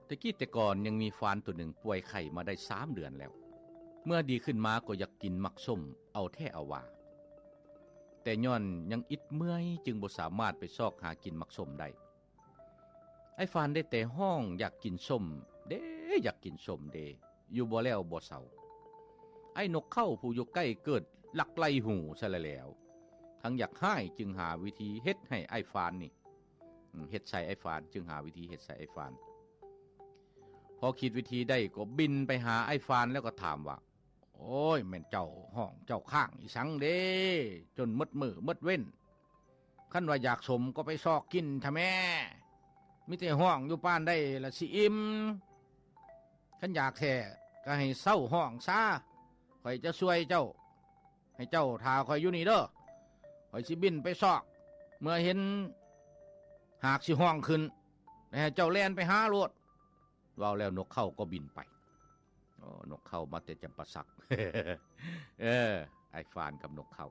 ແຕ່ກີ້ແຕ່ກ່ອນຍັງມີຟານໂຕໜຶ່ງປ່ວຍໄຂ້ມາໄດ້ສາມເດືອນແລ້ວ. ເມື່ອດີຂຶ້ນມາກໍຢາກກິນໝາກສົ້ມເອົາແທ້ເອົາວ່າ, ແຕ່ຍ້ອນຍັງອິດເມື່ອຍຈຶ່ງບໍ່ສາມາດໄປຊອກຫາກິນໝາກສົ້ມໄດ້. ອ້າຍຟານໄດ້ແຕ່ຮ້ອງຢາກກິນສົ້ມເດ້, ຢາກກິນສົ້ມເດ້ ຢູ່ບໍ່ແລ້ວບໍ່ເຊົາ. ອ້າຍນົກເຂົາຜູ້ຢູ່ໃກ້ເກີດລັກໄລ່ຫູຊະແລ້ວ, ທັງຢາກຮ້າຍຈຶ່ງຫາວິທີເຮັດໃຫ້ອ້າຍຟານນີ້ ເຮັດໃສ່ອ້າຍຟານ, ຈຶ່ງຫາວິທີເຮັດໃສ່ອ້າຍຟານ. ພໍຄິດວິທີໄດ້ກໍບິນໄປຫາອ້າຍຟານແລ້ວກໍຖາມວ່າ, ໂອ້ຍ ແມ່ນເຈົ້າຮ້ອງເຈົ້າຄ້າງອີ່ສັງເດ້ ຈົນໝົດມື້ໝົດເວັນ? ຄັນວ່າຢາກສົ້ມກໍໄປຊອກກິນທະແມ້, ມີແຕ່ຮ້ອງຢູ່ປານໃດລະຊິອີ່ມ? ຄັນຢາກແທ້ກໍໃຫ້ເຊົາຮ້ອງຊາ, ຂ້ອຍຈະຊ່ວຍເຈົ້າ. ໃຫ້ເຈົ້າຖ້າຂ້ອຍຢູ່ນີ້ເດີ, ຂ້ອຍຊິບິນໄປຊອກ, ເມື່ອເຫັນຫາກຊິຮ້ອງຂຶ້ນ ແລ້ວໃຫ້ເຈົ້າແລ່ນໄປຫາໂລດ. ເວົ້າແລ້ວນົກເຂົາກໍບິນໄປ. ໂອ້ ນົກເຂົາມາແຕ່ຈຳປາສັກ. ເອີ ອ້າຍຟານກັບນົກເຂົາ.